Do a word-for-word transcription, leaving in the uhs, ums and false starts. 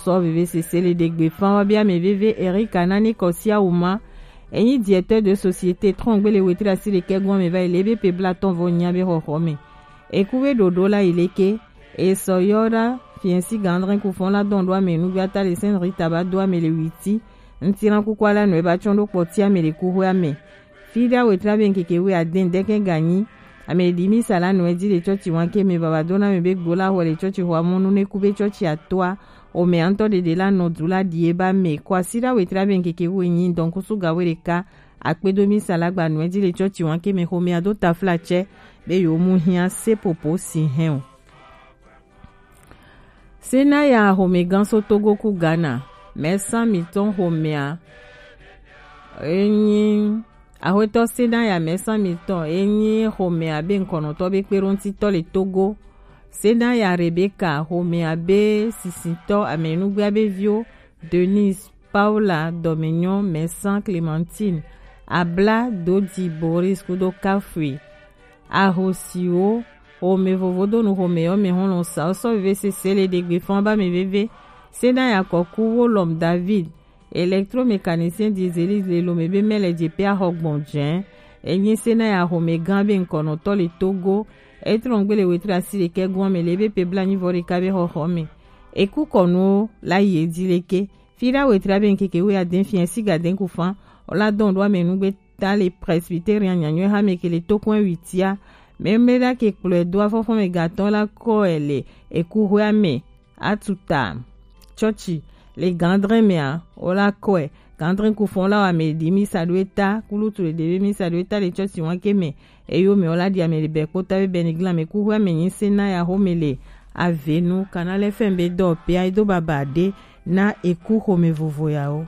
Sɔ veve sese le ɖegbe fan wa bia mɛ veve Erika Nani Kɔsia Wuma. Enyi directeur de société trɔngbele wetri asi ɖekɛ gɔn mɛ va yi le ebe pe bla tɔn vɔ nya be xɔxɔ mɛ. Eku be ɖoɖo la yi leke. Esɔ yɔ ɖa fiɛnsi gandrin kufɔn la dɔn ɖo amɛ nugbe ata le Sainte Rita ba do amɛ le witi. Ŋtiran kuku ala nɔ eba tsɔn ɖo kpɔti amɛ le kuxwe amɛ. Fida wetri abe ŋkeke wu aden dɛkɛ ganyi. Ame ɖi mi sala nɔ edzi le tsɔtsi wanke mɛ baba dona mɛ be gbo la xɔ le tsɔtsi xɔ amɔnu ne ku be tsɔtsi atoa. Ome antɔ ɖeɖe la nɔ du la ɖi eba mɛ kɔ asi ɖa wetri abe ŋkeke wu enyi dɔn kusu ga we ɖeka. Akpedo mi sala gba nɔ edzi le tsɔtsi wanke mɛ xɔ mɛ ado tafla tsɛ be yo mu hiã sepopo si hɛn o. Senaya xomɛgã so Togo ku Ghana, mɛsã mitɔn xomɛa enyi axwetɔ Senaya mɛsã mitɔn enyi xomɛa be ŋkɔnɔtɔ be kpeɖoŋtitɔ le Togo. Senaya Rebeka xomɛa be sisitɔ amɛnugbea be viwo Denise, Paula, Dominion, Mɛsã, Clementine, Abla, Dodi, Boris kudo Kafui. Ahosiwo xomɛ vovodonu xomɛ yɔ mɛ hɔn lɔn sa sɔ veve sese le ɖegbe fɔn ba mɛ veve. Senaya kɔku wo lɔm David, électromécanicien dieselise le lome be mɛ le dze pe axɔ gbɔn jɛn. Enyi Senaya xomɛ gã be ŋkɔnɔtɔ le Togo. Etrɔn gbele wetri asi ɖekɛ gɔn mɛ le be pe bla nyi vɔ ɖeka be xɔxɔ mɛ. Eku kɔnuwo la yi edzi leke. Fida wetri abe ŋkeke wu aden fiɛ siga den ku fan. Ola dɔn ɖo ame nugbe ta le Presbyterian nyanyɔe hame ke le tokɔn witia. Mɛmɛ ɖa ke kplɔe do afɔfɔ mɛ gatɔ la kɔe le eku hwe ame atuta tsɔtsi le gandrɛ mɛa ola kɔe gandrɛ ku fɔn la wa mɛ ɖi mi sa ɖo eta kulutu le ɖe be mi sa ɖo eta le tsɔtsi wanke mɛ. Eyo mɛ ola ɖi ame le bɛ kpota be bɛ ni glan mɛ ku hwe ame nyi se na ya xome le avenu kana lɛ fɛn be dɔ pea edo baba ɖe na eku xome vovo yawo.